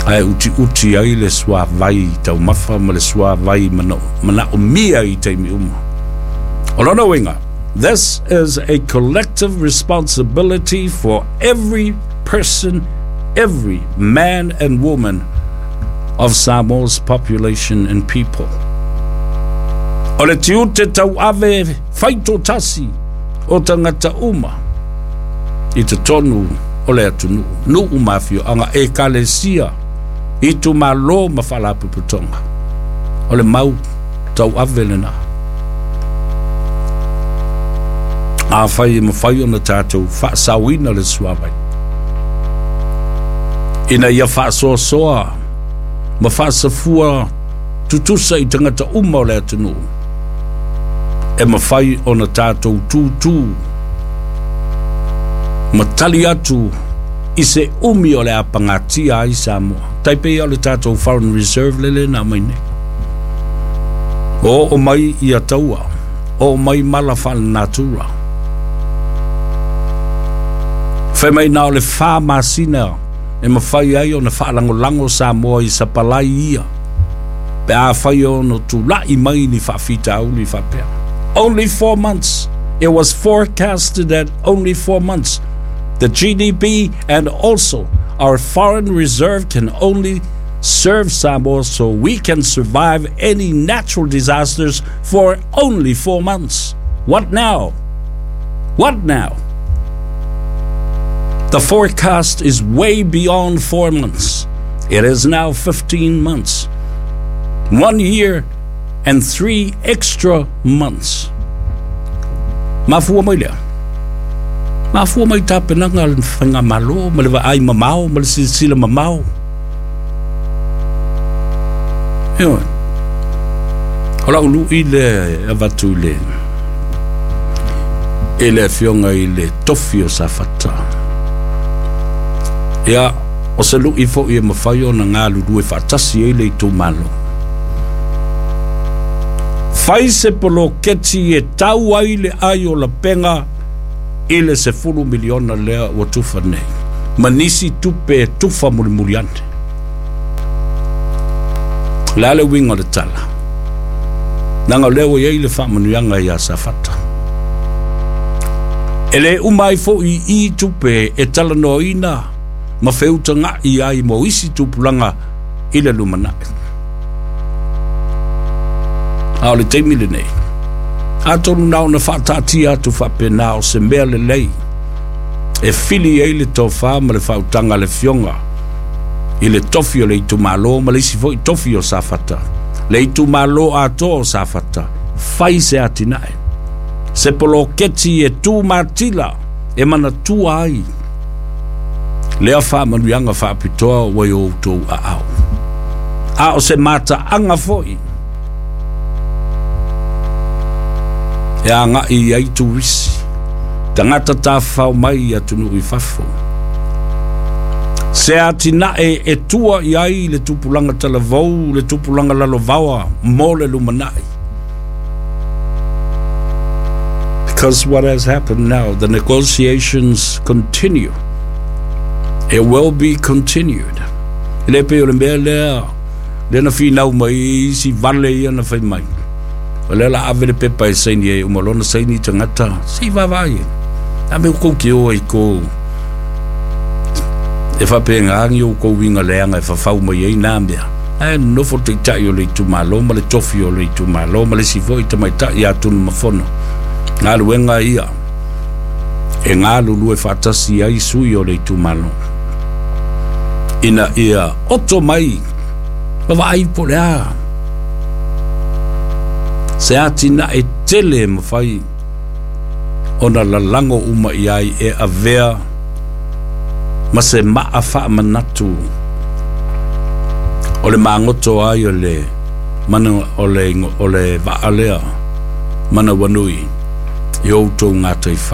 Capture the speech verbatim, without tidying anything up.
Ae utiuti ai le suavai taumafa ma le suavai manaomia i taimi uma. O lona uiga, this is a collective responsibility for every person, every man and woman of Samoa's population and people. O le tiute tauave faitotasi o tagata uma i totonu o le atunuu, nuu ma afioaga, ekalesia, itumalo ma faalapotopotoga. O le mau tauave lena. Afai e mafai ona tatou faasaoina le suavai ina ia faasoasoa ma faasafua tutusa i tagata uma o le atunuu, e mafai ona tatou tutū ma tali atu i se umi o le a pagatia ai Samoa. Tai pei o le tatou foreign reserve lele na aumai nei. O oo mai ia taua, oo mai mala faalenatura. Fai mai na o le fa masina e mafai ai ona faalagolago Samoa i sapalai ia pe afai ona tula'i mai ni faafitauli faapea. Only four months. It was forecasted that only four months. The G D P and also our foreign reserve can only serve Samoa so we can survive any natural disasters for only four months. What now? What now? The forecast is way beyond four months. It is now fifteen months. One year and three extra months. Mafua mai lea. Mafua mai tapenaga a le faigamalo ma le vaai mamao ma le silasila mamao. Ioe. O lau lui lea e avatu i le i le afioga i le tofi o Safata. Ia, o se lui foi e mafai ona galulue faatasi ai le itumalo. Fai se poloketi e tau ai le ai o lapega i le sefulu miliona lea ua tufa nei ma nisi tupe e tufa mulimuli ane. O le a le uiga o le tala? Leaga o lea ua i ai le faamanuiaga ia Safata. E le uma ai foi i i tupe e talanoaina ma feutaga'i ai mo isi tupulaga i le lumanai. A o le taimi lenei, atonu na ona faataatia atu faapena o se mea lelei e fili ai le tofa ma le faautaga a le Afioga i le tofi o le itumalo ma le isi foi tofi o Safata, le itumalo atoa o Safata, fai se atinae, se poloketi e tu matila e manatua ai lea faamanuiaga faapitoa ua i o outou aao. A o se mataaga foi e agai i ai turisi, tagata tafafao mai i atunuu i fafo. Se atinae e tua i ai le tupulaga talavou, le tupulaga lalovaoa mo le lumanai. Because what has happened now, the negotiations continue. It will be continued. E le pei o le mea lea, lea na finau mai i isi vale ia na fai mai. O lea la ave le pepa e saini ai, uma loa ona saini tagata, se i vaavaai ai. A mea kou te o ai ko e faapena ni outou uiga leaga e fafau mai ai nā mea. Ae nonofo le taitai o le itumalo ma le tofi o le itumalo ma le isi foi tamaitai ia Tunumafono. Galuega ia e galulue faatasi ai sui o le itumalo ina ia oto mai ma vaai po o le a se atinae tele e mafai ona lalago uma i ai e avea ma se maa faamanatu o le magoto ai o le mana o le o le vaa lea manawanui i outou gataifale.